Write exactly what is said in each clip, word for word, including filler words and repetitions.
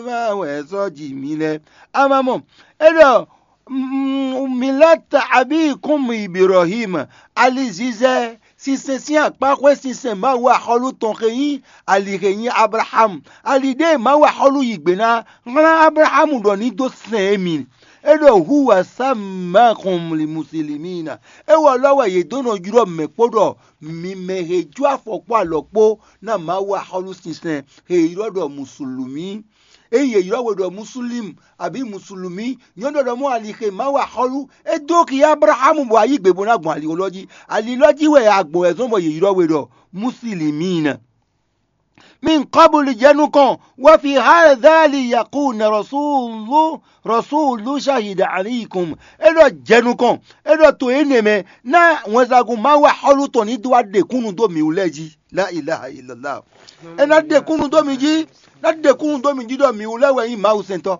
Wɛ sɔ́ ji mì lɛ́ɛ. Amamɔ, é ɖɔ milata abíkún Ibrahim, alizizɛ sinsɛn sín akpáxwé sinsɛn Mawu axɔ́lú tɔn xe nyí ali xe nyí Ablaham. Ali ɖé Mawu axɔ́lú yǐ gbe ná hlán Ablaham ɖɔ ní dó sɛn émí. É ɖɔ hu wǎ sá ma xɔn mli musilimi ná. É wɔ lɔ́ wɛ yě dó nɔ ylɔ́ mɛ kpó ɖɔ mi mɛ he jó afɔ kpó alɔ kpó ná Mawu axɔ́lú sinsɛn he ylɔ́ ɖɔ musulumi. Ényí yě ylɔ́ we ɖɔ Muslímu abǐ Musulumí, nyɔ̌nu ɖɔ mɔ̌ ali xe Mawu axɔ́lú, é dó xi Ablaxámu bɔ ayǐ gbe bó ná gbɔn ali élɔ́ jí. Ali élɔ́ jí wɛ agbɔ̌n wɛ zɔ́n bɔ yě ylɔ́ we ɖɔ Muslímína. Min kɔbulu jɛ nukɔn, wɔ fi házali yakun rɔsúlu rɔsúlu ṣahida alíkum. É ɖɔ jɛ nukɔn, é ɖɔ to énɛ́ mɛ ná wɛnsagun Mawu axɔ́lú tɔn ní dó wá ɖe kúnnu dó mǐ wú lɛ́ɛ jí. La ilaha illallah. É ná ɖe kúnnu dó mi jí, ná ɖe kúnnu dó mi jí ɖɔ mǐ wú lɛ́ɛ wɛ nyí Mawu sɛntɔ́.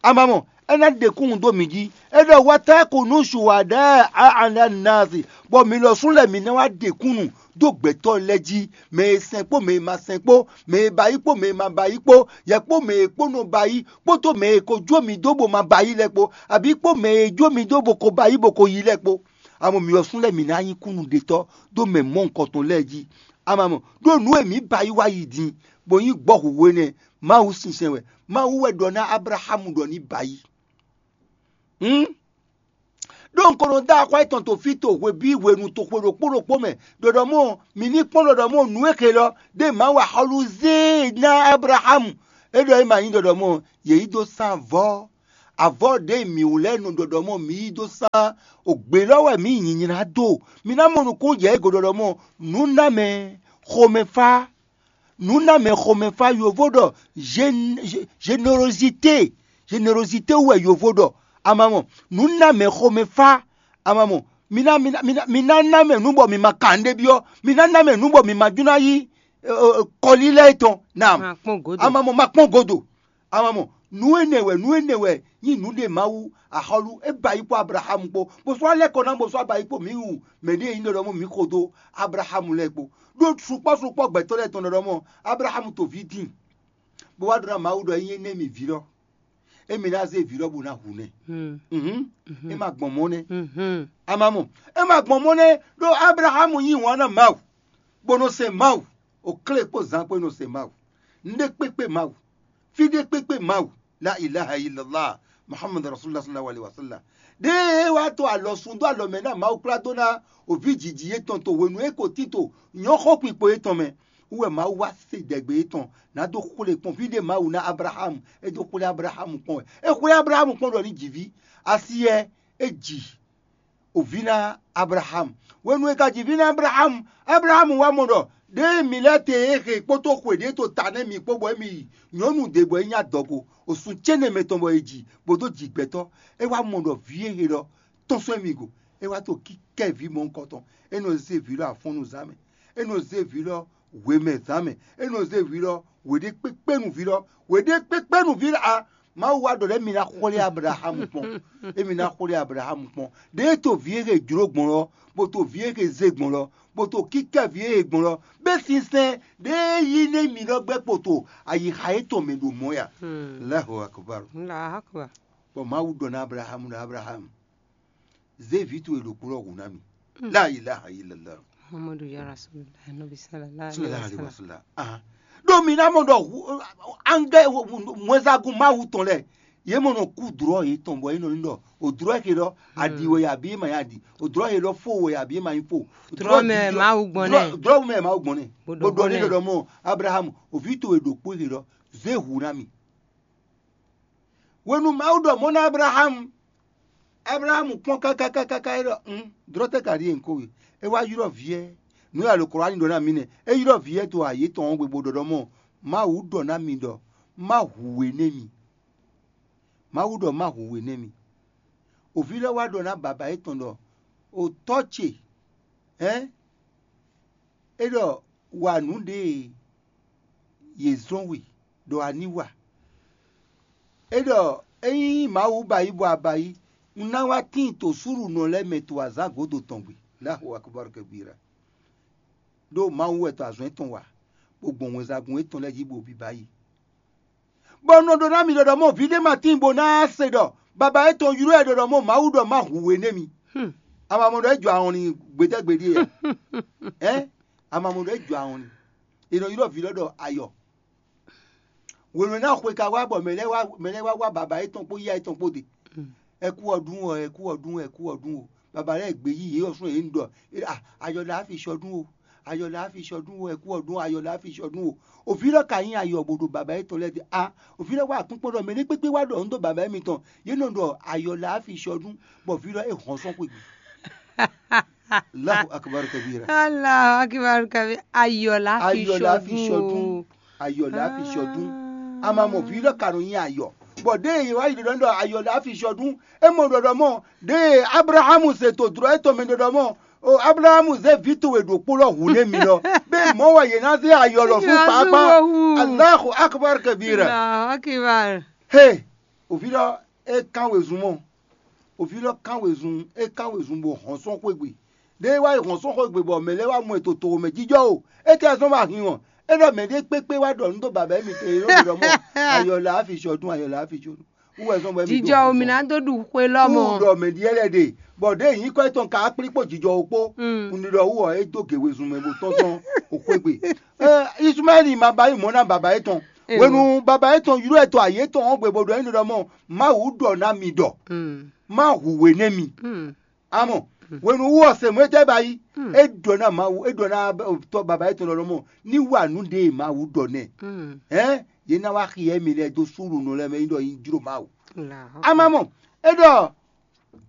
Amamɔ, é ná ɖe kúnnu dó mi jí. É ɖɔ wátá kò nú ṣùwádá ala nasi, bɔ mi lɔ sú lɛ mǐ ná wá ɖe kúnnu dó gbɛtɔ́ lɛ́ɛ jí, mɛ e sɛn kpó mɛ e ma sɛn kpó, mɛ e ba yí kpó mɛ e ma ba yí kpó, yɛ kpó mɛ e kpó nɔ ba yí, kpódó mɛ e ko jó mi dó bó ma ba yí lɛ́ɛ kpó, abǐ kpó mɛ e jó mi dó bó ko ba yí bó ko yí lɛ́ɛ kpó. Amɔ mǐ ɔ́ sú lɛ́ɛ mǐ ná nyí kúnnuɖetɔ́ dó mɛ mɔ̌hunkɔtɔn lɛ́ɛ jí. Amamɔ, ɖó nǔ e mǐ ba yí wá yi din, bó nyí gbɔ́ hǔhú énɛ́, Mawu sinsɛn wɛ. Mawu wɛ ɖɔ ná Ablaxámu ɖɔ ní ba yí. Hǔn, ɖó un ko nɔ dó axwá yětɔn to fí to hwebǐ hwenu to xwe ɖokpó ɖokpó mɛ, ɖɔ ɖɔ mɔ̌ mǐ ní kpɔ́n ɖɔ ɖɔ mɔ̌ nǔ e xe lɔ ɖé Mawu axɔ́lú zé e ná Ablaxámu. É ɖɔ é ma nyí ɖɔ ɖɔ mɔ̌ yě yí dó sán avɔ́. Avɔ́ ɖě mǐ wú lɛ́ɛ nɔ ɖɔ ɖɔ mɔ̌ mǐ yí dó sán ògbě lɔ wɛ mǐ yi nyinyrá dó. Mi ná mɔ nukúnnú jɛ égo ɖɔ ɖɔ mɔ̌ nǔ ná mɛ xomɛfá. Nǔ ná mɛ xomɛfá yovo ɖɔ générozité, générozité wɛ yovo ɖɔ. Amamɔ, nǔ ná mɛ xomɛfá. Amamɔ, mi ná mi ná mi ná mi ná ná mɛ nǔ bɔ mi ma kan nɖé byɔ́. Mi ná ná mɛ nǔ bɔ mi ma jún ná yí kɔlílɛ tɔn. Naam. Amamɔ, ma kpɔ́n godo. Amamɔ, nǔ énɛ́ wɛ nǔ énɛ́ wɛ nyí nǔ ɖe Mawu axɔ́lú é ba yí kpó Ablaxámu kpó, bó sɔ́ lɛ́ kɔ ná bó sɔ́ ba yí kpó mǐ wu mɛ ɖě nyí ɖɔ mɔ̌ mǐ xo dó Ablaxámu lɛ́ɛ kpó. Ɖó sukpɔ́ sukpɔ́ gbɛtɔ́ lɛ́ɛ tɔn ɖɔ mɔ̌ Ablaxámu to vǐ din, bó wá ɖɔ ná Mawu ɖɔ é nyí énɛ́ mì vǐ lɔ. Émí ná zé vǐ lɔ bó ná hu nɛ́. Uhún, é ma gbɔn mɔ̌ nɛ́. Amamɔ, é ma gbɔn mɔ̌ nɛ́, ɖó Ablaxámu yí wǎn ná Mawu, bó nɔ sɛn Mawu, oklé kpó zan kpó é nɔ sɛn Mawu. Nɖé kpékpé Mawu, fí ɖé kpékpé Mawu, la ilaha illallah, Muhammad rasulullah sallallahu alaihi wasallam. Ɖěe é wá to alɔ sun dó alɔ mɛ ná Mawu kplá dó ná òví jǐjí yětɔn to hwenu e é ko tín to nyɔ̌xɔ́kpikpo yětɔn mɛ. Wú wɛ Mawu wá se ɖɛ̌gbe yětɔn ná dó xwlé kpɔ́n fí ɖé Mawu ná Ablaxámu, é dó xwlé Ablaxámu kpɔ́n wɛ. É xwlé Ablaxámu kpɔ́n ɖɔ ní ji vǐ. Asiyɛ é ji òví ná Ablaxámu. Hwenu e ka ji vǐ ná Ablaxámu, Ablaxámu wá mɔ ɖɔ ɖěe mǐ lɛ́ɛ te e xe kpódó xwe ɖě to ta nɛ́ mì kpó bɔ émí yi nyɔ̌nu ɖě bɔ é nyí adɔgo, osun cénɛmɛ tɔn bɔ è ji bó dó ji gbɛtɔ́. É wá mɔ ɖɔ vǐ e xe lɔ tɔ́n sɔ́ émí go. É wá to kíkɛ́ vǐ mɔ̌hunkɔtɔn. É nɔ zé vǐ lɔ afɔ́nnu zán mɛ. É nɔ zé vǐ lɔ hwemɛ zán mɛ. É nɔ zé vǐ lɔ hweɖékpékpénu vǐ lɔ hweɖékpékpénu vǐ lɔ a Mawu wá ɖɔ lɛ́ mi ná xwlé Ablaxámu kpɔn. Émi ná xwlé Ablaxámu kpɔn. Ɖěe to vǐ e xe jlǒ gbɔn lɔ, bó to vǐ e xe zé gbɔn lɔ, bó to kíkɛ́ vǐ e xe gbɔn lɔ, bɛ́ sinsɛn ɖěe yí nɛ́ mi lɔ gbɛ́ kpoto ayixa yětɔn mɛ ɖo mɔ̌ ya. Allahu akbar. Allahu akbar. Bɔ Mawu ɖɔ ná Ablaxámu ɖɔ Ablaxámu, zé vǐ towe ɖokpó lɔ hu ná mì. La ilaha illallah. Muhammadu ya Rasulullah, Nabi sallallahu alaihi wasallam. Ɖo mi ná mɔ ɖɔ angɛ wɛnsagun Mawu tɔn lɛ, yě mɔ nɔ kú dlɔ̌ yětɔn bɔ yě nɔ ní ɖɔ o dlɔ̌ xe lɔ aɖi wɛ abi ma ya ɖi, o dlɔ̌ xe lɔ fo wɛ abi ma yi fo. Dlɔ̌ mɛ Mawu gbɔn nɛ. Dlɔ̌ mɛ Mawu gbɔn nɛ. Bó ɖɔ ní ɖɔɖɔ mɔ Abraham, o vǐ towe ɖokpó xe lɔ zé hu ná mì. Hwenu Mawu ɖɔ mɔ̌ ná Ablaxámu, Ablaxámu kpɔ́n káká káká é ɖɔ un dlɔ́ tɛ́ ka ɖíe un ko we? É wá ylɔ́ vǐ ɛ. Nǔ e alɔkɔ́wáni ɖɔ ná mǐ nɛ́. É ylɔ́ vǐ ɛ dó ayě tɔn ɔ́ gbe bó ɖɔ ɖɔ mɔ̌, Mawu ɖɔ ná mi ɖɔ má hu we nɛ́ mi. Mawu ɖɔ má hu we nɛ́ mi. Oví lɛ́ɛ wá ɖɔ ná baba yětɔn ɖɔ o tɔ́ ce, hɛ̌n, é ɖɔ wa nǔ ɖě e yě zɔ́n we ɖɔ a ní wa. É ɖɔ ényí Mawu ba yí bɔ a ba yí, un ná wá tíin to súɖunɔ lɛ́ɛ mɛ to azǎn gǒdo tɔn gbe. Láhu akɔbáru kɛbíra. Ɖó Mawu wɛ to azɔn étɔn wa, bó gbɔn wɛnsagun étɔn lɛ́ɛ jí bó biba yi. Bɔ un nɔ ɖɔ ná mi ɖɔ ɖɔ mɔ vǐ ɖé ma tíin bó ná se ɖɔ baba étɔn ylɔ́ ɛ ɖɔ ɖɔ mɔ Mawu ɖɔ má hu we nú émí. Hmm. A ma mɔ ɖɔ é jɔ ahɔn nyi gbetɛ́gbe ɖíe a? Ɛ̌? A ma mɔ ɖɔ é jɔ ahɔn nyi. È nɔ ylɔ́ vǐ lɔ ɖɔ ayɔ. Wěwé ná xwe ka wá bɔ mɛ lɛ́ɛ wá mɛ lɛ́ɛ wá wá baba étɔn kpó yá étɔn kpó ɖe. Hmm. Ɛ kú ɔ ɖún ɔ, ɛ kú ɔ ɖún, ɛ kú ɔ ɖún o. Baba lɛ́ɛ gbě yí yě ɔ́ sún yě nu ɖɔ: "A, ayɔ lɛ á fi sɔ ɖún o, ayɔ lɛ á fi sɔ ɖún o, ɛ kú ɔ ɖún o, ayɔ lɛ á fi sɔ ɖún o." Òví lɔ ka nyí ayɔ bó ɖo baba étɔn lɛ́ɛ ɖe a? Òví lɔ wá akpínkpɔ́n ɖɔ mɛ ɖé kpékpé wá ɖɔ nǔ dó baba émítɔn, yě nɔ ɖɔ ayɔ lɛ á fi sɔ ɖún, bɔ vǐ lɔ é hɔn sɔ́ xwé gbe. Allahu akbar kabira. Allahu akbar kabira. Ayɔ la fi sɔdun. Ayɔ la fi sɔdun. Ayɔ la fi sɔdun. A ma mɔ vǐ lɔ ka nɔ nyi ayɔ. Bɔ ɖe ye wá yi ɖɔ ɖɔ ayɔ la fi sɔdun. E mɔ ɖɔ ɖɔ mɔ ɖe Abrahamu se to dlɔ etɔn mɛ ɖɔ ɖɔ mɔ o Abrahamu ze vǐ towe ɖokpó lɔ hu nɛ mi lɔ. Be mɔ wɛ ye na ze ayɔ lɔ fún kpakpa. Allahu akbar kabira. Allahu akbar. He, òvi lɔ e kan wezun mɔ. Òvi lɔ kan wezun, é kan wezun bɔ hɔn sɔn xwé gbe. Ɖé wá yi hɔn sɔn xwé gbe bɔ mɛ lɛ́ɛ wá mɔ ɛ to toxo mɛ jijɔ o. É tɛ zɔn wá hin wɔn. É ɖɔ mɛ ɖé kpékpé wá ɖɔ nǔ dó baba émi te é ɖɔ mɔ ayɔ la afi sɔdún, ayɔ la afi sɔdún. Wú wɛ zɔn bɔ émi jijɔ o mi ná dó ɖu xwe lɔmɔ. Wú ɖɔ mɛ ɖi ɛlɛ ɖe, bɔ ɖé nyǐkɔ étɔn ka kplí kpó jijɔ o kpó. Un ɖi ɖɔ wú ɔ é dó gě wezun mɛ bó tɔ́n tɔn o xwé gbe. Ismaɛli ma ba yi mɔ̌ ná baba étɔn. Hwenu baba étɔn ylɔ́ ɛ to ayě tɔn ɔ́ gbe bó ɖɔ énɛ́ ɖɔ mɔ Mawu ɖɔ ná mi ɖɔ. Má hu we nɛ́ mi. Amɔ hwenu wú ɔ́ se mɔ̌ é tɛ́ ba yi? É ɖɔ ná Mawu, é ɖɔ ná tɔ́ baba étɔn ɖɔ mɔ ní wa nǔ ɖé e Mawu ɖɔ nɛ́. Hɛ̌n yě ná wá xyɛ mì lɛ́ɛ dó súnnu lɛ́ɛ mɛ nyí ɖɔ nyí jló Mawu. Amamɔ é ɖɔ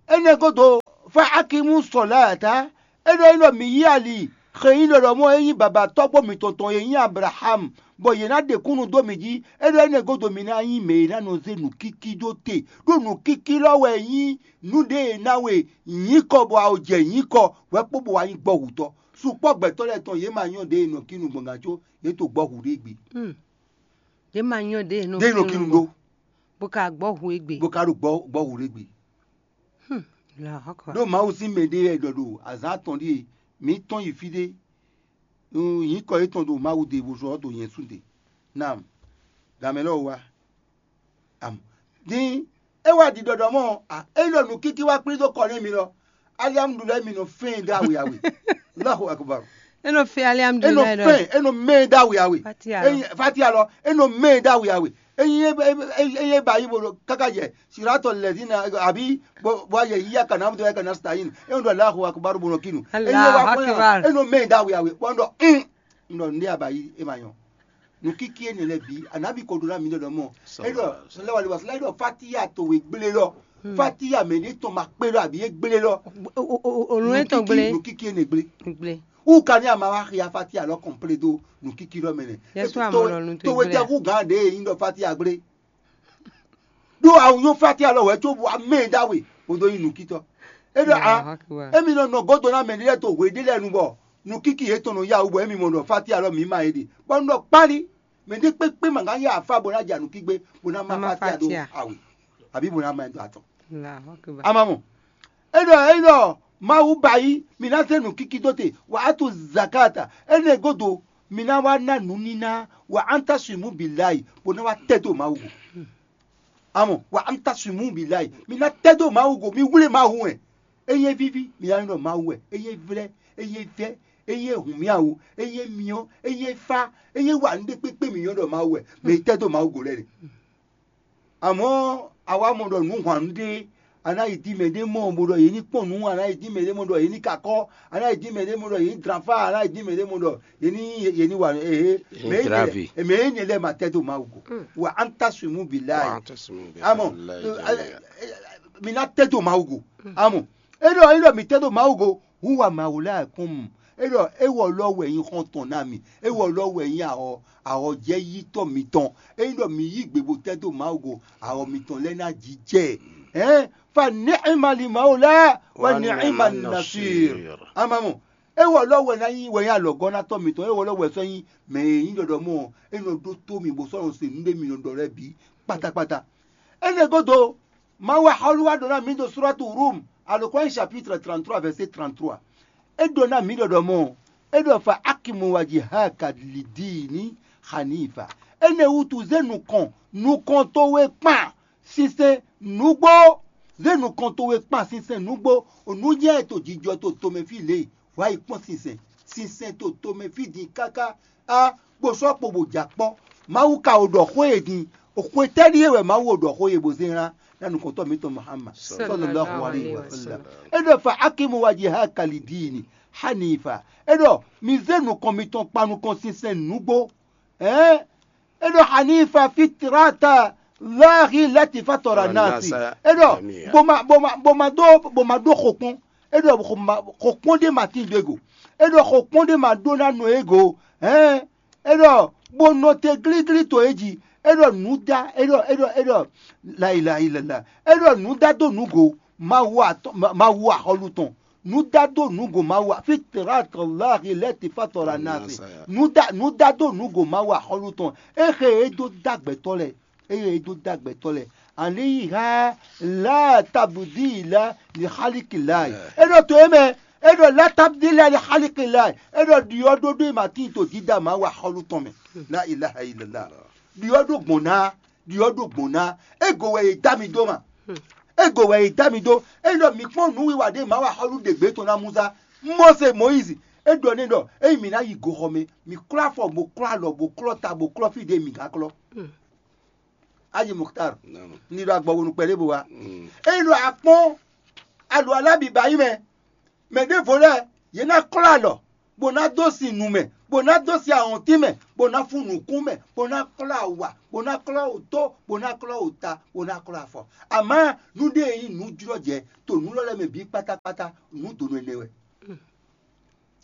énɛ́ gúdo, fa akimu sɔlata, é ɖɔ nyí ɖɔ mǐ yí ali xe nyí ɖɔɖɔmɔ e nyí babatɔ́gbó mǐtɔn tɔn e nyí Ablaxámu, bɔ yě ná ɖe kúnnu dó mǐ jí. É ɖɔ énɛ́ gúdo mi ná nyí mɛ e ná nɔ zé nǔkíkí dó te, ɖó nǔkíkí lɔ wɛ nyí nǔ ɖé e ná we nyǐkɔ bɔ a jɛ nyǐkɔ hwɛ̌ kpó bɔ wá nyí gbɔ́hutɔ́. Sukpɔ́ gbɛtɔ́ lɛ́ɛ tɔn yě ma nyɔ́ ɖě e nɔ kínu gbɔn gǎn có yě to gbɔ́hu ɖé gbe. Yě ma nyɔ́ ɖě e nɔ kínu ɖó, bó ka gbɔ́hu égbé. Bó ka ɖo gbɔ́hu ɖé gbe. Ɖó Mawu sín mɛ ɖé wɛ ɖɔ ɖo azǎn atɔn ɖíe mǐ tɔ́n yi fí ɖé, nyǐkɔ yětɔn ɖo Mawu ɖe bó sɔ́ ɖo nyɛ sú ɖe. Nam, gǎnmɛ lɔ wá. Am, din é wá ɖi ɖɔɖɔ mɔ, é ɖɔ nǔkíkí wá kplí dó kɔ nú mi lɔ. Aliamudulɛ mi nɔ fɛn dó awe awe. Allahu akbar. É nɔ fɛn aliamudulɛ lɔ. É nɔ fɛn, é nɔ mɛ dó awe awe. Fatia lɔ. Fatia lɔ, é nɔ mɛ dó awe awe. Eye ba yi bo káká yɛ siratɔ lɛdina àbí bɔ yɛ yíyá kana amúdó yá kana sitayin. É nɔ ɖɔ Allahu akbar bo nɔ kínu. Eye wa kɔn yà é nɔ mɛ dó awe awe. Bɔ nɔ un nɔ ndé abayi é ma nyɔ. Nukiki énɛ́ lɛ́ɛ bǐ, Anabi ko ɖó ná mi ɖɔ mɔ. É ɖɔ sɔlɛwali wa sɔlɛ ɖɔ fatiya towe gblé lɔ. Fatiya mɛ ní tɔn ma kpé lɔ àbí é gblé lɔ. Olú é tɔn gblé. Nukiki énɛ́ gblé. Gblé. Wú ka ní a ma wá xia fatiya lɔ kɔnplé dó nukiki lɔ mɛ nɛ. Yɛsu amɔ lɔ nu tó towe tɛ gblé. Kú gán ɖe é nyí ɖɔ fatiya gblé. Ɖó awu nyɔ fatiya lɔ wɛ có bu amɛ dá we. Bo dó nyí nukitɔ. É ɖɔ a émi nɔ nɔ gɔ́dɔ ná mɛ ɖé lɛ́ɛ to hwe ɖé lɛ́ɛ nu bɔ nukiki yětɔn nɔ yá wú bɔ émi mɔ ɖɔ fatiya lɔ mǐ ma é ɖe. Bɔ un ɖɔ kpáli. Mɛ ɖé kpékpé ma ná ya afá bó ná ja nukígbe bó ná má fátíà ɖó awe, àbí bó ná má ɛ dó atɔn. Amamɔ é ɖɔ é ɖɔ Mawu ba yí mi ná zé nǔkíkí dó te, wà á tu zakata. Énɛ́ gúdo mi ná wá ná nǔníná, wà á ta sui mú bǐ láyi bó ná wá tɛ́ dó Mawu go. Amɔ wà á ta sui mú bǐ láyi, mi ná tɛ́ dó Mawu go, mi wlé Mawu wɛ. Ényí é víví, mi ná nyɔ́ ɖɔ Mawu wɛ. Ényí é vlɛ́, ényí é vɛ́, ényí é hun mì awu, ényí é myɔ, ényí é fá, ényí é wa nǔ ɖé kpékpé mǐ nyɔ́ ɖɔ Mawu wɛ, mɛ e tɛ́ dó Mawu go lɛ́ɛ ɖe. Amɔ̌ a wá mɔ ɖɔ nǔ hwan nǔ ɖé, a ná yi dín mɛ ɖé mɔ bó ɖɔ yě ní kpɔ́n nǔ, a ná yi dín mɛ ɖé mɔ ɖɔ yě ní kakɔ́, a ná yi dín mɛ ɖé mɔ ɖɔ yě ní dlán fá, a ná yi dín mɛ ɖé mɔ ɖɔ yě ní yě ní wa ee mɛ énɛ́ lɛ́ɛ ma tɛ́ dó Mawu go. Wa an ta sui mú bǐ láàyè. Amɔ mi ná tɛ́ dó Mawu go. Amɔ é ɖɔ é ɖɔ mi tɛ́ dó Mawu go, hu wa Mawu lɛ́ɛ kún mu. É ɖɔ é wɔ lɔ wɛ nyí xɔ́ntɔn ná mi. É wɔ lɔ wɛ nyí ahɔ ahɔjɛ́yítɔ́ mitɔn. É ɖɔ mi yí gbe bó tɛ́ dó Mawu go, ahɔ mitɔn lɛ́ɛ ná jijɛ. Ɛ̌n fa nɛ̌ é ma li Mawu lɛ́ɛ wɛ nɛ̌ é ma nasir. Amamɔ é wɔ lɔ wɛ ná nyí wɛ nyí alɔgɔ́nátɔ́ mitɔn. É wɔ lɔ wɛ sɔ́ nyí mɛ e nyí ɖɔɖɔmɔ é nɔ ɖótó mi bó sɔ́ nɔ se nǔ ɖé mi nɔ ɖɔ lɛ́ɛ bǐ kpatakpata. Énɛ́ gúdo, Mawu axɔ́lú wá ɖɔ ná mǐ ɖo Suratu Rum, Alukɔ́nyí chapitre trente-trois, verset trente-trois. É ɖɔ ná mǐ ɖɔ ɖɔ mɔ, é ɖɔ fa akimu wa ji ha ka li dii ní xanifa. Énɛ́ wútu zé nukɔn nukɔn towe kpan sinsɛn nǔgbó. Zé nukɔn towe kpan sinsɛn nǔgbó. Nǔ jɛ to jijɔ to tomɛ fí lě. Wǎ yi kpɔ́n sinsɛn. Sinsɛn to tomɛ fí din káká. Á, bó sɔ́ kpo bó jɛ akpɔ́. Mawu ka o ɖɔ xó e din. Xwe tɛ́ ɖíe wɛ Mawu o ɖɔ xó e bó zé ná ná nukɔntɔ́ mǐtɔn Muhammad sallallahu alaihi wa sallam. É ɖɔ fa akimu wa ji ha kali diini hanifa. É ɖɔ mi zé nukɔn mitɔn kpa nukɔn sinsɛn nǔgbó. Ɛ̌n, é ɖɔ hanifa fitrata lahi lati fatɔra nasi. É ɖɔ boma boma boma dó boma dó xokpɔn. É ɖɔ xokpɔn ɖé ma tín dó ego. É ɖɔ xokpɔn ɖé ma ɖó ná nɔ ego. Ɛ̌n, é ɖɔ bó nɔ te glíglí to é jí. É ɖɔ nǔdá é ɖɔ é ɖɔ é ɖɔ layilayilala. É ɖɔ nǔdá dó nǔgo mawu atɔn mawu axɔlu tɔn. Nǔdá dó nǔgo mawu a- fitrat lahi lɛti fatɔra nase. Nǔdá nǔdá dó nǔgo mawu axɔlu tɔn. Éxe é dó dó agbɛtɔ́ lɛ. Eye é dó dó agbɛtɔ́ lɛ. Aliyiha la tabudila li xaliki lai. É ɖɔ to é mɛ. É ɖɔ la tabudila li xaliki lai. É ɖɔ ɖiɔ ɖoɖo e ma tín to dídá mawu axɔlu tɔn mɛ. La ilaha illallah. Ɖiɔ ɖó gbɔn ná. Ɖiɔ ɖó gbɔn ná. Ego wɛ è dá mi dó ma. Ego wɛ è dá mi dó. É ɖɔ mi kpɔ́n nǔwiwa ɖé mawu axɔlu ɖe gbě tɔn ná Musa. Mose Moyizi. É ɖɔ n'i ɖɔ ényí mǐ ná yi goxɔ mɛ, mǐ klɔ́ afɔ bó klɔ́ alɔ bó klɔ́ ta bó klɔ́ fí ɖé mǐ gán klɔ́. Ayi Muxtar, ní ɖo agbɔwonu kpɛɖé bo wá. Ényí ɖo akpɔ́n aɖu alábìbá yí mɛ, mɛ ɖěvo lɛ́ɛ yě ná klɔ́ alɔ, bó ná dó sin nu mɛ, bó ná dó sin ahɔntín mɛ, bó ná fún nǔkún mɛ, bó ná klɔ́ awa, bó ná klɔ́ wǔtó, bó ná klɔ́ wǔta, bó ná klɔ́ afɔ. Amǎ nú ɖé e nyí nǔjlɔ́jɛ to nǔ lɔ lɛ́ɛ mɛ bǐ kpátákpátá, nǔ donu ɛnɛ wɛ.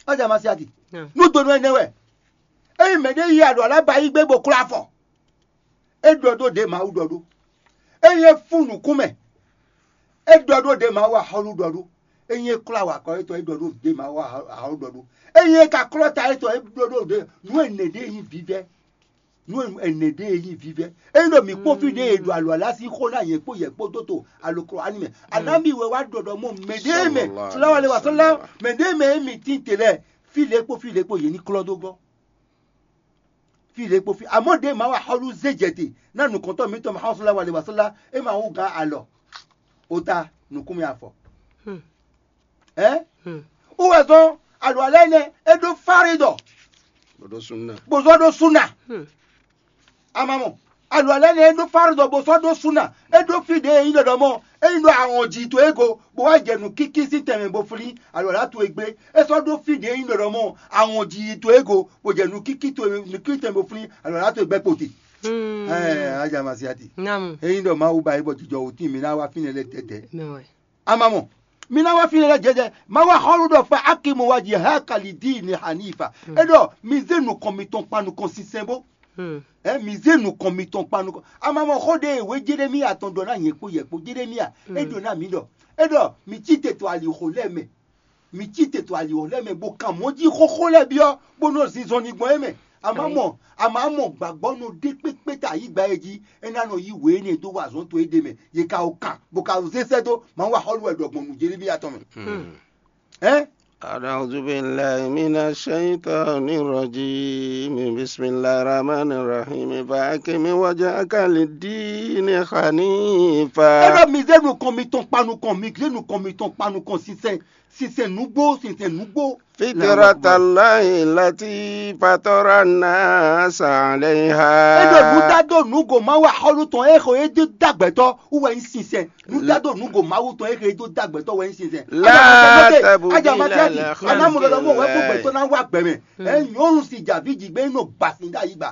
Ɔ́ jɛ Masiati. Nú donu ɛnɛ wɛ. Ényí mɛɖé yi aɖu alá ba yí gbé bó klɔ́ afɔ. É ɖɔ ɖó ɖě Mawu ɖɔ ɖó. Ényí é fún nǔkún mɛ, é ɖɔ ɖó ɖě Mawu axɔ́lú ɖɔ ɖó. Ényí é klɔ́ awakɔ étɔn, é ɖɔ ɖó ɖě Mawu axɔ́lú ɖɔ ɖó. Ényí é ka klɔ́ ta étɔn, é ɖɔ ɖó ɖě nǔ ɛnɛ ɖé nyí vívɛ́. Nǔ ɛnɛ ɖé nyí vívɛ́. Ényí ɖo mǐ kpɔ́n fí ɖé e ɖo alɔ alá sín xó ná nyɛ kpó yɛ kpó dó to aloklo ani mɛ. Anábì wɛ wá ɖɔ ɖɔ mɔ mɛ ɖé mɛ, sɔlá wa lé wa sɔlá, mɛ ɖé mɛ e mi tín te lɛ, fí lě kpó fí lě kpó yě ní klɔ́ dó gɔ́. Fí lě kpó fí. Amɔ̌ ɖě ma wa xɔlú zé jɛ te ná nukɔntɔn mǐtɔn ma xɔ sɔlá wa lé wa sɔlá, é ma wú gán alɔ. Ota nukúnmɛ afɔ. Ɛ? Wú wɛ zɔ́n alɔ alɛ nɛ é ɖó fáridɔ. Bó ɖó súnna. Bó zɔ́ ɖó súnna. Amamɔ alɔ alɛ nɛ é ɖó fáridɔ bó sɔ́ ɖó súnna. É ɖó fí ɖě e nyí ɖɔɖɔ mɔ é nyí ɖɔ awɔn ji to ego bó wá jɛ nǔkíkí sín tɛnmɛ bó flín alɔ alá to e gbé. É sɔ́ ɖó fí ɖě e nyí ɖɔɖɔ mɔ awɔn ji to ego bó jɛ nǔkíkí to nǔkíkí tɛnmɛ bó flín alɔ alá to e gbɛ kpoti. Ɛɛ ajá ma si ati. Namu. É nyí ɖɔ Mawu ba é bɔ jijɔ wò tín mi ná wá fínɛ́ lɛ́ɛ tɛtɛ. Mɛ wɛ. Amamɔ, mi ná wá fínɛ́ lɛ́ɛ jɛjɛ. Má wá xɔ́lú ɖɔ fa akimu wa ji ha kali dii ni hanifa. É ɖɔ mi zé nukɔn mitɔn kpa nukɔn sinsɛn bó. Ɛ mi zé nukɔn mitɔn kpa nukɔn. Amamɔ xó ɖe wé Jeremia tɔn ɖɔ ná nyɛ kpó yɛ kpó Jeremia. É ɖɔ ná mi ɖɔ. É ɖɔ mi cí te to alixo lɛ́ɛ mɛ. Mi cí te to alixo lɛ́ɛ mɛ bó kan mɔ̌ jí xóxó lɛ́ɛ byɔ́ bó nɔ zinzɔn ní gbɔn é mɛ. Amamɔ amamɔ gbàgbọ́ nɔ ɖé kpékpé ta ayǐgba e jí é ná nɔ yí wě énɛ́ dó wa azɔ̌ to éɖée mɛ. Yě ka o kan bó ka zé sɛ́ dó Mawu axɔ́lú wɛ ɖɔ gbɔn nǔ Jeremia tɔn mɛ. Ɛn? أعوذ بالله من الشيطان الرجيم. بسم الله الرحمن الرحيم. فأقم وجهك للدين حنيفا. É ɖɔ mi zé nukɔn mitɔn kpa nukɔn, mi zé nukɔn mitɔn kpa nukɔn sinsɛn sinsɛn nǔgbó sinsɛn nǔgbó. فطرة الله التي فطر الناس عليها. É ɖɔ nǔdado nǔgo Mawu axɔ́lú tɔn e xɔ é dó dó agbɛtɔ́ wú wɛ nyí sinsɛn. Nǔdado nǔgo Mawu tɔn e xɔ é dó dó agbɛtɔ́ wɛ nyí sinsɛn. لا تبديل لخلق الله. Anamɔ ɖɔɖɔ mɔ wɛ kó gbɛtɔ́ ná wá gbɛ mɛ. Ɛ nyɔnu si javí jigbe nɔ gbasin ɖe ayigba.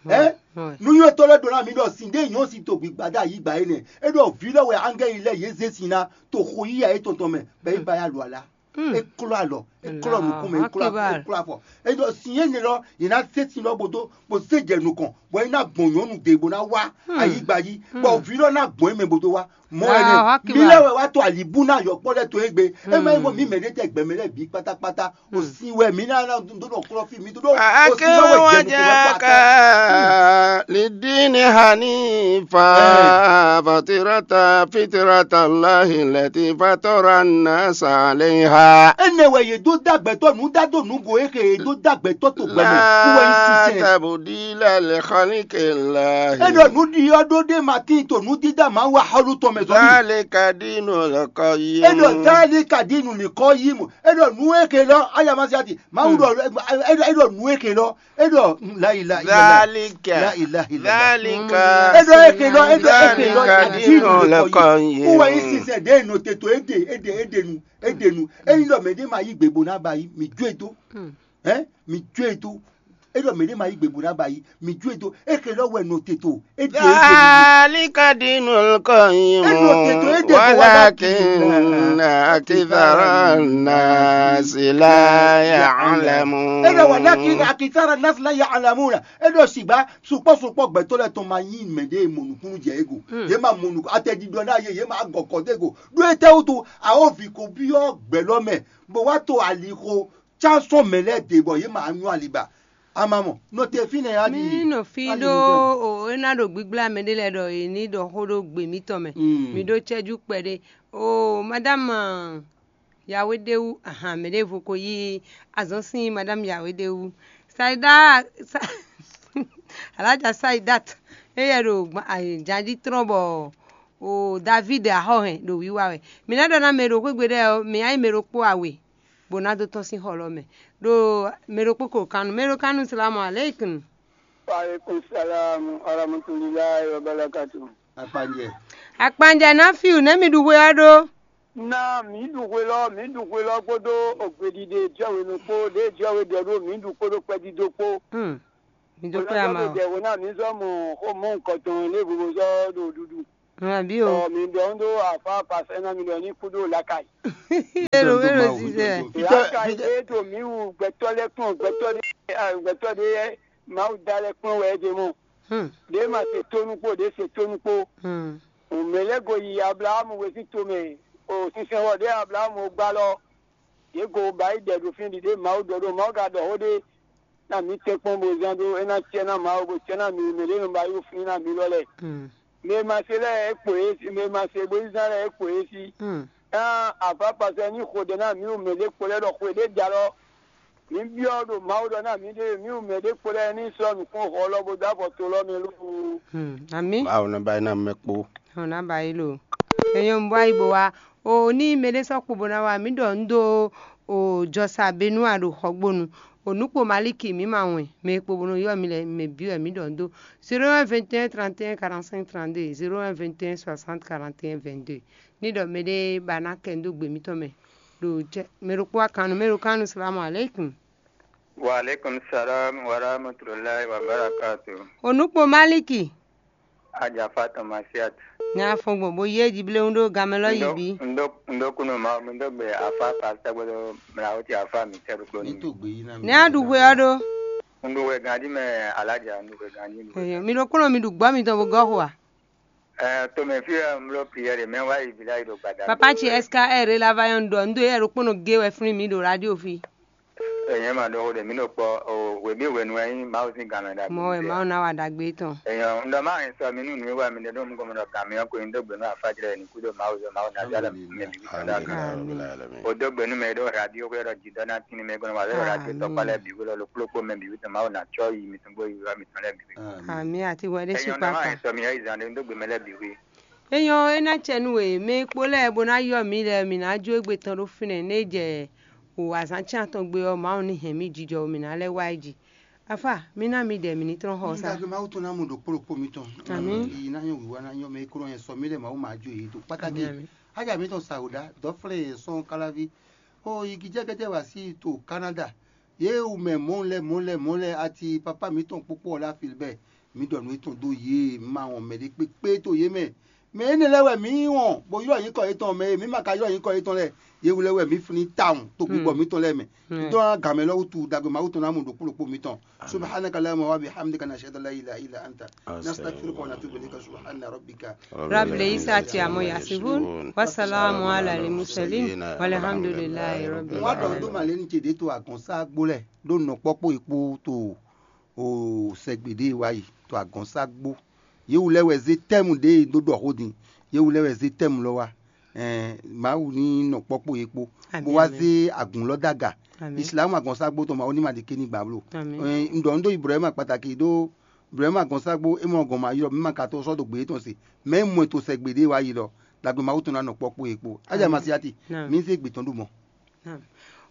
Ɛ nuyɔtɔ lɛ ɖo na mi ɖɔ sin ɖe nyɔ si to gbigba ɖe ayigba yi nɛ. E ɖɔ vi lɛ wɛ angɛli lɛ ye ze sin na to xo yiya etɔn tɔn mɛ bɛ yi ba ya lu ala. E klɔ alɔ, e klɔ nukun mɛ, e klɔ afɔ, e klɔ afɔ. E ɖɔ sin ye nɛ lɔ, ye na se sin lɔ bodo, bo se jɛ nukɔn, bɔ e na gbɔn nyɔnu de bo na wa ayigba yi, bɔ vi lɔ na gbɔn e mɛ bodo wa. Mɔ wɛ nɛ, mi lɛ wɛ wa to alibu na yɔkpɔ lɛ to egbe. E ma yi mɔ mi mɛ ɖe tɛ gbɛmɛ lɛ bi kpatakpata. O sin wɛ mi na na do nɔ klɔ fi mi do do. O sin wɛ wɛ jɛ nukun wɛ kpata. للدين حنيفا فطرة فطرة الله التي فطر الناس عليها. Énɛ́ wɛ yě dó dó agbɛ̌tɔ́ nǔ dá dó nǔgo e xe yě dó dó agbɛ̌tɔ́ to gbɛ mɛ. Kú wɛ nyí sinsɛn. Tabudila li khalqillah. É ɖɔ nǔɖiɖi ɔ́ ɖó ɖé ma tíin to nǔdídá Mawu axɔ́lú tɔn mɛ zɔ́. Zalika dinu lɔkɔ yi. É ɖɔ zalika dinu lɔkɔ yi mu. É ɖɔ nǔ e xe lɔ ayamasiati. Mawu ɖɔ é ɖɔ nǔ e xe lɔ. É ɖɔ la ilaha illallah. Zalika. La ilaha illallah. Zalika. É ɖɔ é xe lɔ é ɖɔ é xe lɔ. Zalika dinu lɔkɔ yi. Kú wɛ nyí sinsɛn ɖě nɔ te to é ɖe é ɖe é ɖe nu é ɖe nu. Ényí ɖɔ mɛɖé ma yí gbe bó ná ba yí, mǐ jó e dó. Hɛn, mǐ jó e dó. É ɖɔ mǐɖée ma yí gbe bó ná ba yi, mǐ jó e dó. É xe lɔ wɛ nɔ te to. É ɖe é ɖe. Zalika dinul qayyim. É nɔ te to, é ɖe kó wá ná kí. Walakinna akthara nasi la ya'lamun. É ɖɔ wà ná kí akithara nasi la ya'lamuna. É ɖɔ sìgbà sukpɔ́ sukpɔ́ gbɛtɔ́ lɛ́ɛ tɔn ma nyí mɛɖée mɔ nǔkúnnú jɛ é go. Yě ma mɔ nǔkún atɛɖiɖɔ ná yě, yě ma gɔkɔ dó é go. Ɖó étɛ́ wútu a ó vi ko byɔ́ gbɛ̌ lɔ mɛ, bó wá to alixo cánsɔ́n mɛ lɛ́ɛ ɖe bɔ yě ma nyɔ́ ali ba. A ma mɔ, nɔ te fínɛ́ a ɖi. Mí nɔ fí ɖó o é ná ɖo gbígbla mɛ ɖé lɛ́ɛ ɖɔ è ní ɖɔ xó ɖó gbe mǐtɔn mɛ. Mi ɖó cɛ́jú kpɛɖé. O madame Yahweh ɖe wú, ahan, mɛ ɖěvo ko yí azɔn sín madame Yahweh ɖe wú. Saida Sa- Alaja Saidat, éyɛ ɖo janjí trɔ́n bɔ o David axɔ́ hɛn ɖo wiwa wɛ. Mǐ ná ɖɔ ná mɛ ɖo xwé gbe ɖɛ ɔ́, mǐ ná nyí mɛ ɖokpó awe, bó ná dó tɔ́n sín xɔ lɔ mɛ. Ɖo mɛ ɖokpó ko kannu, mɛ ɖo kannu salamu aleikum. Wa alaikum salam wa rahmatullahi wa barakatuh. Akpanjɛ. Akpanjɛ ná fi wǔ nɛ́ mi ɖu hwe ɔ́ ɖó. Ná mǐ ɖu hwe lɔ, mǐ ɖu hwe lɔ kpódó ogbeɖiɖe jɔwenu kpó ɖě jɔwe ɖɔ ɖó mǐ ɖu kpódó kpɛdídó kpó. Hmm. Mi dó kpé ama o. Ɖɛ̌ ná mǐ zɔ́ mɔ xó mɔ nukɔntɔn lé vovo zɔ́ ɖo ɖuɖu. Àbí o. Ɔ mi ɖɔ ń ɖó afá pasɛ ná mi ɖɔ ní kú ɖó lakayi. Elo elo sísè. Lakayi é ɖo mǐ wú gbɛtɔ́ lɛ́ kplɔ́n gbɛtɔ́ ɖé gbɛtɔ́ ɖé Mawu da lɛ́ kplɔ́n wɛ é ɖe mɔ. Hmm. Ɖě ma se tónú kpó ɖě se tónú kpó. Hmm. Mɛ lɛ́ go yi Ablaxámu we sín tomɛ, o sinsɛnxɔ ɖě Ablaxámu gbá lɔ, yě go ba yi ɖɛ ɖo fínɛ́ ɖiɖe Mawu ɖɔ ɖó Mawu ka ɖɔ xó ɖé ná mǐ tɛ́nkpɔ́n bó zán ɖó é ná cɛ ná Mawu bó cɛ ná mǐ mɛ ɖě nɔ ba yi fín ná mǐ lɔ lɛ́ɛ. Mɛ e ma se lɛ́ɛ é kpo yě sí, mɛ e ma se bó yi zán lɛ́ɛ é kpo yě sí. Ná afápasɛ ní xo ɖɛ ná mǐ mɛ ɖě kpo lɛ́ɛ ɖɔ xwe ɖé jalɔ. Mǐ byɔ́ ɖo Mawu ɖɔ ná mǐɖée mǐ wú mɛ ɖé kpo lɛ́ɛ ní sɔ́ nǔkún xɔ lɔ bó dó afɔ to lɔ mɛ lóo. Amǐ. Mawu nɔ ba ná mɛ kpó. Ɔn ná ba yi lo. Enyɔ un bó ayi bó wá. O ní mɛ ɖé sɔ́ kpo bó ná wá mǐ ɖɔ un ɖó o jɔsa Benua ɖo xɔgbónu. O nǔkpo Maliki mǐ ma wɛn mɛ e kpo bó nɔ ylɔ́ mi lɛ́ɛ mɛ bǐ wɛ mǐ ɖɔ un ɖó. Zéro un vingt et un trente et un quarante-cinq trente-deux, zéro un vingt et un soixante quarante et un vingt-deux. Ní ɖɔ mɛ ɖé ba ná kɛ un dó gbe mǐtɔn mɛ. Ɖo jɛ mɛ ɖokpó akannu mɛ ɖo kannu salamu aleykum. Wa aleykum salam wa rahmatulahi wa barakatu. Onukpo Maliki. Ajafa Tomasiat. Ní afɔngbɔn bó yé jiblewún ɖó gamɛ lɔ yi bí. Ndo kuno ma mi do gbe afa ka tɛgbɛ do mla o ti afa mi tɛ ɖokpo ni. Ní a ɖu hwe ɔ ɖó. Ndo hwe ganji mɛ alaja ndo hwe ganji. Mi ɖokpónɔ mi ɖu gbɔ mitɔn bó gɔ́ xo a? Ɛɛ, tomɛ fi ɛ mlo prière mɛ wa yi bila yi do gbada. Papa ci S K R la va yɔn dɔ ndo yɛ ɖokpónɔ gé wɛ flin mi ɖo radio fi. Èyàn máa ɖɔ ó ɖe mí ɖo kpɔ o wěbí wěnu ɛ nyí Mawu sín gǎn mɛ ɖagbe. Mɔ wɛ Mawu ná wa ɖagbe tɔn. Èyàn ń ɖɔ má ẹ̀ sọ mí nú nǔ wíwá mi ɖe ɖó mú gɔmɔ ɖɔ gǎn mi ɔ́ ko nyí dó gbe nú afájlɛ ní kúdó Mawu zɔ Mawu ná zá lɛ mɛ bǐ wí tɔn dá kan. O dó gbe nú mɛ ɖó radio xwé ɖɔ jidɔ ná tín mɛ gɔnɔ wà lɛ radio tɔkpá lɛ bǐ wí lɔ kplókpó mɛ bǐ wí tɔn Mawu ná tsɔ yi mi tɔn gbó yi wá mi tɔn lɛ bǐ wí. Àmì àti wɛ ɖé sí Èyàn ń ɖɔ má kpákpá. Ẹ̀ sọ mí ɛ yi zan ɖe dó gbe mɛ lɛ bǐ wí. Enyɔ é ná cɛ nú we mɛ e kpó lɛ́ɛ bó ná yɔ mǐ lɛ́ɛ mǐ ná jó égbé tɔn ɖó fínɛ́ nú é jɛ o azǎn cɛ́n atɔn gbe ɔ́ Mawu ní hɛn mì jijɔ mǐ ná lɛ́ wá yi jí. Afá mí ná mi ɖɛ mǐ ní tlɔ́n xɔ sá. Dagbe Mawu tɔn ná mɔ ɖo kpó ɖokpó mitɔn. Àmín. Yi ná nyɔ wǐwá ná nyɔ mɛ e kó nɔ nyɛ sɔ mí lɛ́ɛ Mawu ma jó yě dó kpátákì. Ájà mǐtɔn Sawuɖá dɔ́flɛ́ yɛ sɔ́n káláví. O yigijɛgɛjɛ wá sí to Canada. Yě wu mɛ mɔ̌ lɛ́ɛ mɔ̌ lɛ́ɛ mɔ̌ lɛ́ɛ ati papá mǐtɔn kpókpó ɔ́ ɖo Afilibɛ́ɛ. Mǐ ɖɔ nǔ étɔn dó yě, mǐ ma wɔn mɛɖé kpékpé to yě mɛ. Mɛ énɛ́ lɛ́ɛ wɛ mǐ wɔn, bó ylɔ́ nyǐkɔ yětɔn mɛ e mǐ ma ka ylɔ́ nyǐkɔ yětɔn lɛ́ɛ, yě wu lɛ́ɛ wɛ mǐ flín tawun to gbígbɔ mǐtɔn lɛ́ɛ mɛ. Dɔn gǎnmɛ lɔ wútu dagbe Mawu tɔn ná mɔ ɖokpó ɖokpó mǐtɔn. Subhanaka Allahumma wa bihamdika nashhadu an la ilaha illa anta nastaghfiruka wa natubu ilayka subhana rabbika. Rabbil izzati amma yasifun, wa salamun ala al mursalin, walhamdulillahi rabbil alamin. Wọ́n á dɔn tó màlẹ́ ní tse ɖě to àgɔ̀nságbó lẹ̀ ɖó nɔ̀kpɔ́kpó yìí kpó to o sɛgbe ɖé e wá yi to agɔnságbó. Yewu lɛ́ɛ wɛ zé tɛ́mu ɖě e dó ɖɔ xó din. Yewu lɛ́ɛ wɛ zé tɛ́mu lɔ wá. Ɛɛ, Mawu ní nɔ kpɔkpɔ yě kpo, bó wá zé agǔn lɔ dó aga. Islamu agɔnságbo tɔn Mawu ní ma ɖi ké ní gbà bló. Un ɖɔ nǔ dó Ibrahima kpataki ɖó Ibrahima agɔnságbo é mɔ gɔn ma ylɔ mɛ ma ka tó sɔ́ dó gbě tɔn se, mɛ é mɔ to sɛ gbeɖé wá yi lɔ, ɖagbe Mawu tɔn ná nɔ kpɔkpɔ yě kpo. Ájá Masiati, mǐ zé gbě tɔn ɖó mɔ.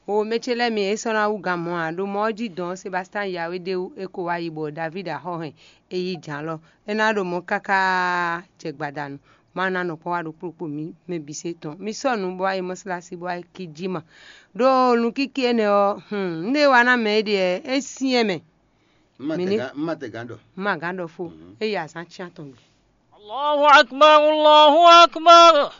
O mɛ ce lɛ́ɛ mi é sɔ́ ná wú gan mɔ̌ ǎ, ɖo mɔ ɔ́ jí dɔn Sebastán Yawédéwu é ko wá yi bɔ Davídi axɔ́ hɛn é yí jǎn lɔ. É ná ɖo mɔ̌ káká jɛ gbadanu. Má ná nɔ kpɔ́n wá ɖokpó ɖokpó mǐ mɛ bǐ se tɔn. Mi sɔ́ nǔ bó wá yi mɔ̌sálásí bó wá yi cí jǐma. Ɖó nǔkíkí énɛ́ ɔ́, hun, nú é wa ná mɛ é ɖe ɛ, é syɛ́n mɛ. Un ma tɛ gán ɖɔ. Un ma gǎn ɖɔ fó, é yi azǎn cyán tɔn gbe. Allahu akbar, Allahu akbar.